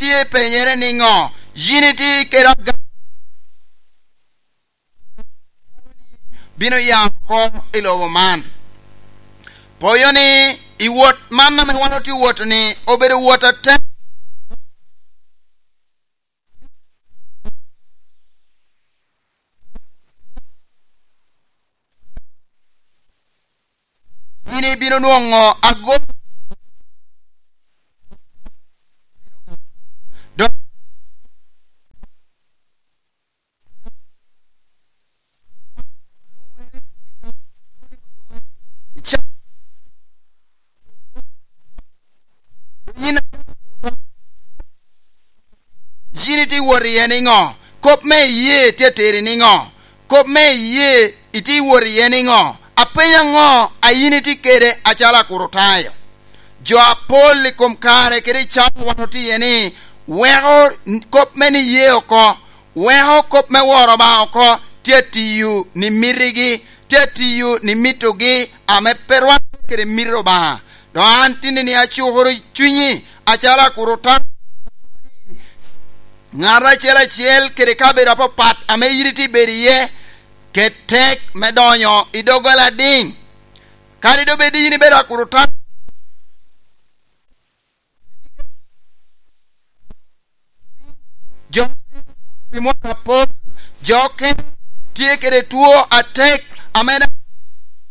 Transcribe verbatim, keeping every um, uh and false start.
tye penyere niŋo? Yin itye kede aga-, bino ya oko i lobo man. Poyo ni i wot man ame wan otye wot-tu ni obedo wot atek. Yin ibino nwoŋo ago-, dok yin, yin itye wot iye niŋo? Kop me iyee tye ateri niŋo? Kop me iyee itye wot iye niŋo? Apenyo aŋo a yin itye kede acalo Akricitayo? Jo apol i kom kare kede i cawa wan otye iye ni weko kop me niye oko, weko kop me woro Obaŋa oko, tye atiyo ni mitigi, tye atiyo ni mitogi ame pe rwatte kede mito Obaŋa. Dok an tinni ni acukoro cunyi acalo Akricitayo, ŋat acel acel kede kabedo apapat ame yin itye bedo iye, ket tek me donyo i doggola adiŋ. Kadi doŋ bed yin ibedo Akricitayo, jo pi mwaka apol, jo okene tye kede two atek ame daŋ